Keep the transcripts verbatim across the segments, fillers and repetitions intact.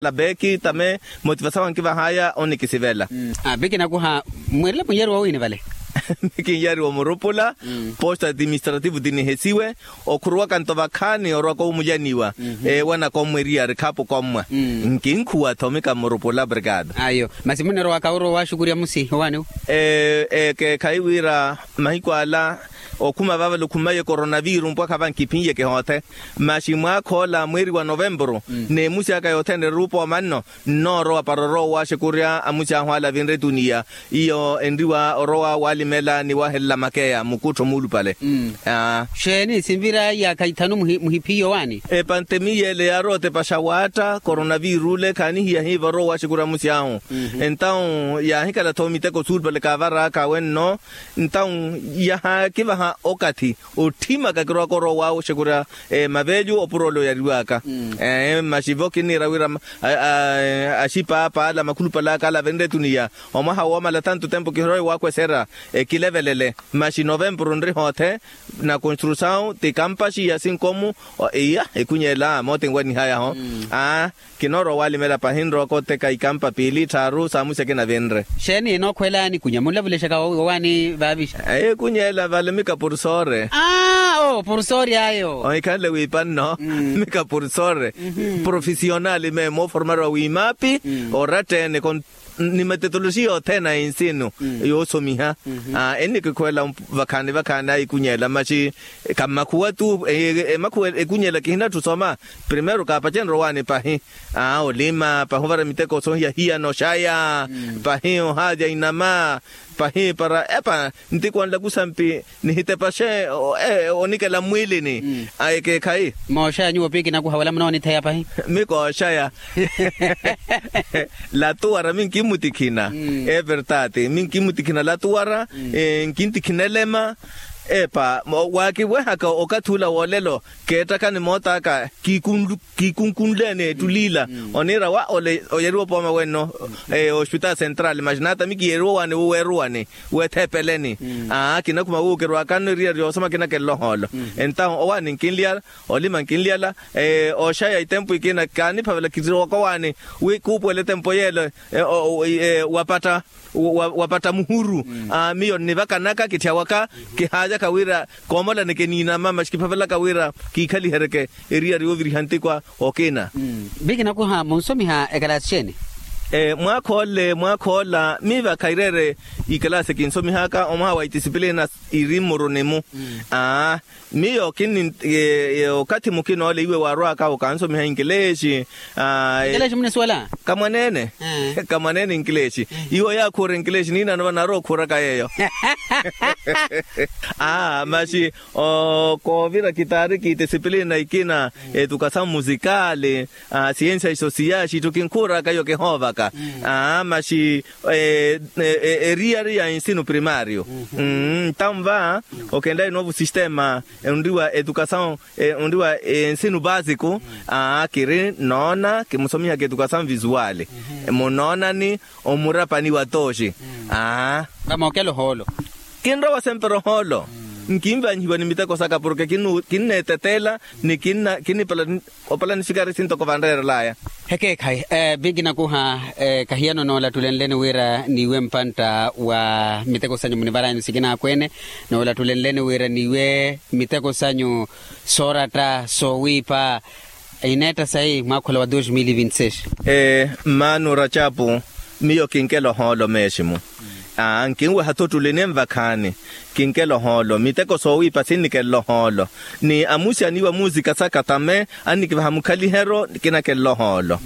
Beki tame motivasawu ankivahaya onikisivela. Beki nakuha. Mweerela munyariwa wiini vale? Beki nyariwa murupula. Posto administrativo tinihesiwe. Okhuruwaka nto vakhaani orwaka omujaniwa. Ewanaka omweriya arikhapu kommwa. Nkinkhuwa-tho mika murupula brigada. Ayo. Masi munirowaka orowa waxukurya musi owaniwo? Ekeekhayi wira mahiku ala okhuma vavale okhumaye coronaviru mpwakha vankiphinnyeke hoothe. Maxi mwaakha ola mweeri wa novempuru n'emusi aka yothene eruupa omanno. Nnoorowa para orowa owaxekurya amusi ahu ala avinre etuniya. Iyo enriwa orowa walimela ni wahelela makeya mukuttho muulupale. Xeeni sinvira iyaakha ithanu muhiphiyo waani? Epantemiya ele yaarowa otepaxa waatta coronaviru ole khaanihiya hiiva orowa owaxekurya amusi ahu. Entawu yaahikala-tho miteko suulupale kaavaraaka awenno. Entawu yahaakivaha okathi otthimaka kirowaka orowa owaxekurya mavelyu opuro ole oyariwaka. Maxi vo kinniira wira axipaapa ala makhulupale aka ala avenre etuniya omwaha woomala tanto tempo kihirowa iwaakweserya. Ekilevelele maxi novempuru nri hoothe. Na construsawu ti kampaxi ya sinkomu. Iya ikunyela moote nwanihaya-ho. Aa kinoorowa walimela pahi nrooko oteka ikampa piili tthaaru saamusi akina avinre. Xeeni enookhwela nikunya munlavulexa kawowaani vaavixa? Ikunyela vale mika pursore. Aa oo pursore ayo. Ohikhanle wiipa nno. Mika pursore profisiyonali meemo oformariwa wiimapi oratta-ene. Ni metotoloxiya othene a ensinu yoosomiha. Ennikikhwela vakhaani vakhaani aikunyela maxi kammakhuwa-tu. Emakhuwa ekunyela kihinatthu osoma. Primeiro kaapacenrye owaani pahi. Aa olima pahi ovara miteko soohiya hiyana oxaya. Pahi ohaavya inama. Pahi para epa ntikwanla kusampi nihitepaxe onikela mmwiilini. Ayekeekhayi. Mooxaya nyuwo piiki nakuha wala munoonitheya pahi. Mikooxaya. Latuwara minkimmutikhina. Evertati minkimmutikhina latuwara. Nkintikhina elema. Epa waakiwehaka okathi ula woolelo keettakani moot'aka kiikunlu kiikunkunleene ettulila. Oniira wa ole oyeriwa opooma wenno ospitaali sentrali maxi naata mikiyeriwa owaani wuweeruwani. Weethepeleni. Aa kinakhuma wuukerwakanno eriyari yoosoma kinakelele ohoolo. Entawu owaani nkinlyala olima nkinlyala. Oxaya itempu ikina kaaniphavela kittiriwaka owaani wi kuupuwela etempu yeelo. Wapatta wapatta muhuru. Miyo nnivakanaka kitthiyawaka kihaalyaka wira koomolaneke niinama maxi kiphavelaka wira kiikhaliheryeke eriyari yooviriha ntikwa. Okina. Biki nakuha munsomiha ekalaasi xeeni? Mwaakha ole mwaakha ola miiva khaireere ikalaasi kinsomihaka omwaha wa itisipilina iri mmuruni-mu. Aa miyo kinni okathi mukina ole iwe waarwaka okansomiha inkileexi. Inkileexi munisuwela? Kamwaneene. Kamwaneene inkileexi. Iwe oyaakhuura inkileexi niinano vanaarowa okhuuraka yeeyo. Aa maxi koovira kitaari kitisipilina ikina. Etukasamu musikaali. Siyensiya sosiyali itthu kinkhuuraka iyo kihoovaka. Maxi eriyari ya ensinu primario. Ntamva okenlayi novo sistema onriwa etukasamu onriwa ensinu baasiku. Kiri noona kimusomihaka etukasamu visuwali. Munoonani omurapani wa tooxi. Vamookela ohoolo. Kinrowa sempre ohoolo. Nkinvanyihiwa ni miteko saka porke kinneeteteela ni kinnipala opala nisikari sintoko vanreerelaya. Ekeekhayi. Biki nakuha. Kahiyano noolatulenleni wira niiwe mpantta wa miteko sanyu munivaranyani sikina akweene. Noolatulenleni wira niiwe miteko sanyu sooratta soowiipa. Ineetta sayi mwaakhula wa dos mil e vinte seis. Mmaano racapu miyo kinkela ohoolo meeximu. Nkinweha-tho ottulini envakhaani. Kinkela ohoolo miteko soowiipa sinnikenle ohoolo. Ni amusi aniiwa muusika saka tame annikivaha mukhaliheryo kinakenle ohoolo.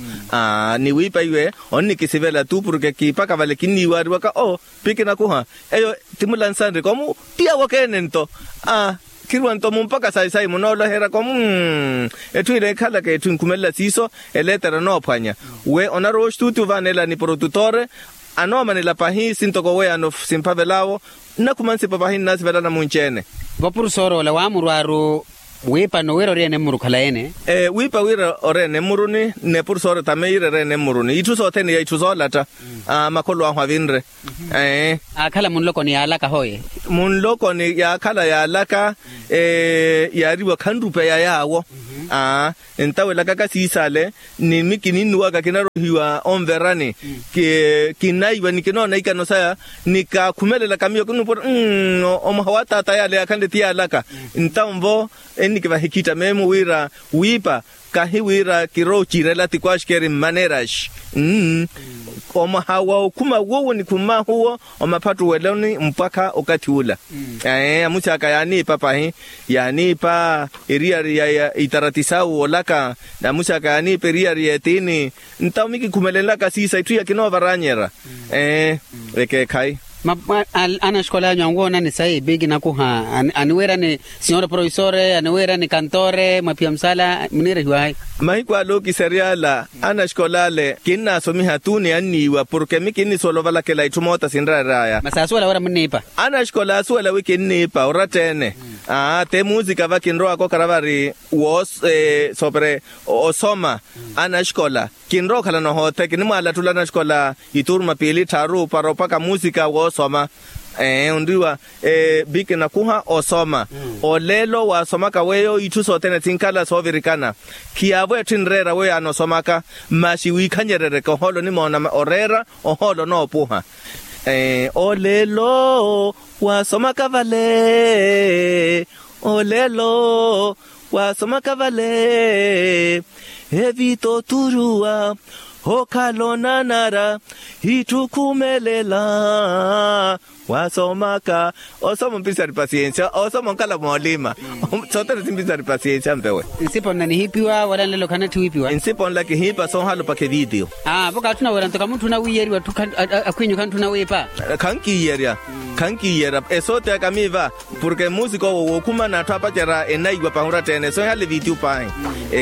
Ni wiipa iwe onnikisivela-tu porke kiipaka vale kinniiwaariwaka o piki nakuha. Eyo ti mulansanre komu. Tiya wokeene nto. Khirwa nto mumpaka sayi-sayi munooloherya komu. Etthu ila ekhalaka etthu inkhumelela siiso. Eleetera enoophwanya we onarowa ostuutiyu ovaanela ni porotutore. Anoomanela pahi sintoko weyano simphavel'awo. Nnakhuma nsipa pahi nnasivelana munci-ene. Vopurusora ola waamurwaaru wiipa nowira ori ene mmuru khala ene. Wiipa wira ori ene mmuruni. N'epurusora tame yira eri ene mmuruni itthu sothene ya itthu soolatta. Makholo ahu avinre. Aakhala munlokoni yaalaka hoye. Munlokoni yaakhala yaalaka. Yaariwa khanrupeya yaawo. Aa, entawelakaka siisale, ni mi kininnuwaka kinarohiwa onverani. Kinaiwa ni kinoona ikano saya, ni kaakhumelelaka miyo kinuupa ori omuha wa taata yale yaakhanle ti yaalaka. Ntawo nvo ennikivaha ekhitta meemo wira wiipa, kahi wira kiroocirela ti kwaxikeri mmaneraxi. Omaha wa okhuma wuwo ni khummahu wo, omaphattuweloni mpwakha okathi ula. Amusi aka yaaniipa pahi, yaaniipa eriyari ya itarati sawu olaka. Amusi aka yaaniipa eriyari ya etiini. Ntawo mi kikhumelenlaka siisa itthu iya kinoovaranyerya. Ekeekhayi. Anaxikola anyu anwoonani sayi pi kinakuha? Aniweerani sinyoro profesore, aniweerani kantore mwaphiya musaala muniirehiwahayi? Mahiku ale okisery'ala anaxikola ale kinnaasomiha tu ni anniiwa porke mi kinnisuwela ovalakela itthu moota sinreery'aya. Masi aasuwela wira munniipa? Anaxikola aasuwela wi kinniipa oratta-ene. Aa te muusika va kinrowaka okhala vari woosoopere osoma anaxikola. Kinrowa okhalana ohothe kinimwaalattula anaxikola ituruma piili tthaaru para opaka muusika woosoma. Ee onriwa pi kinakuha osoma. Oleelo waasomaka weyo itthu sothene sinkhala soovirikana. Khiyaavo etthu enreera weyo anosomaka. Masi wiikhanyerereke ohoolo onimoona oreera ohoolo onoopuha. Oleelo waasomaka vale. Oleelo waasomaka vale. Evita oturuwa okhala onanara itthu khumelela. Waasomaka osoma ompisari pasiensia osoma onkhala moolima. Sothene simpisari pasiensia mpewe. Nsipo nla nihiipiwa wala nlelo khanatthi wiipiwa? Nsipo nla kihiipa soohalopakha evitiyo. Aa vo kaatthuna wira nto kamutthu onawiiyeriwa akhwinyu khantthu onawiipa. Khankiiyerya. Khankiiyerya esoote aka miiva. Porke muusika owo wookhuma n'atthu aapacerya enaiwa pahi oratta-ene soohihale evitiyo pahi.